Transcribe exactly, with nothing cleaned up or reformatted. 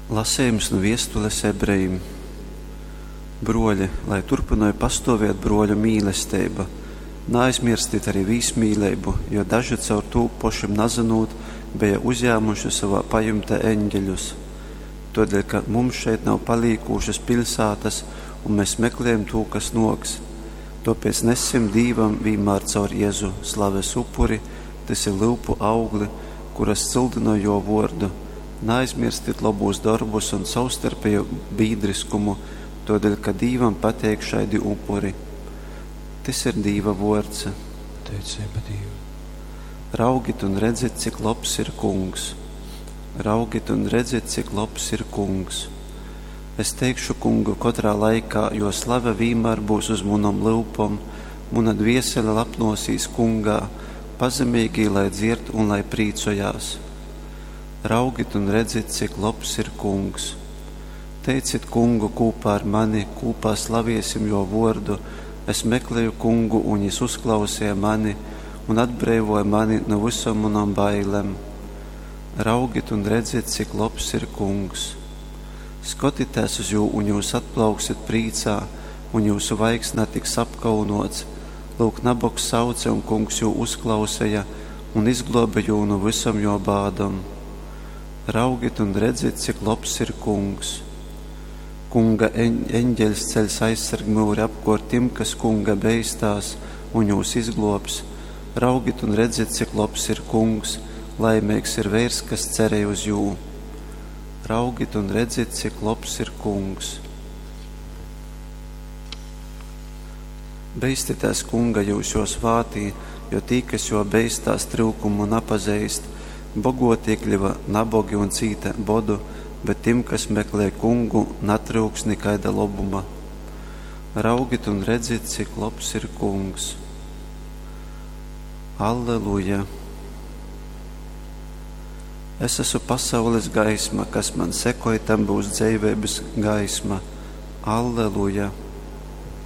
Lasejums nu viestules ebrejim. Bruoļi, lai turpynoj pastuoviet bruoļu mīlesteiba. Naaizmierstit arī vīsmīleibu, jo daži caur tū, pošim nazynūt, beja uzjāmuši sovā pajumtē eņģeļus. Tuodeļ, ka mums šeit nav palīkūšas piļsātas, un mēs meklējam tū, kas nuoks. Tuopēc nessim Dīvam vīnmār caur Jezu slaves upuri, tys ir lyupu augli, kuras cyldynoj Juo vuordu. Naaizmierstit lobūs dorbus un sovstarpeju bīdriskumu, tuodeļ, ka Dīvam pateik šaidi upuri. Tys ir Dīva vuords. Pateiceiba Dīvam. Raugit un redzit, cik lobs ir Kungs. Raugit un redzit, cik lobs ir Kungs. Es teikšu Kungu kotrā laikā, jo slave vīnmār būs uz munom lyupom, muna dviesele lapnosīs Kungā, pazemīgī lai dzierd un lai prīcojās. Raugit un redzit, cik lobs ir Kungs. Teicit Kungu kūpā ar mani, kūpā slaviesim Juo vuordu. Es mekleju Kungu, un Jis uzklauseja mani un atbreivoja mani nu vysom munom bailem. Raugit un redzit, cik lobs ir Kungs. Skotitēs uz jū, un jūs atplauksit prīcā, un jūsu vaigs natiks apkaunots. Lūk, nabogs sauce, un Kungs jū uzklauseja un izgluobe jū nu vysom juo bādom. Raugit un redzit, cik lobs ir Kungs. Kunga eņģeļs ceļs aizsargmyuri apkuort tim, kas Kunga beistās, un jūs izgluobs. Raugit un redzit, cik lobs ir Kungs, laimeigs ir veirs, kas cerej uz jū. Raugit un redzit, cik lobs ir Kungs. Beistitēs Kunga jūs juo svātī, jo tī, kas juo beistās, tryukumu napazeist. Bogotie kļuva nabogi un cīte bodu, bet tim, kas meklej Kungu, natryuks nikaida lobuma. Raugit un redzit, cik lobs ir Kungs. Alleluja! Es esmu pasaules gaisma, kas man sekoj, tam būs dzeiveibys gaisma. Alleluja!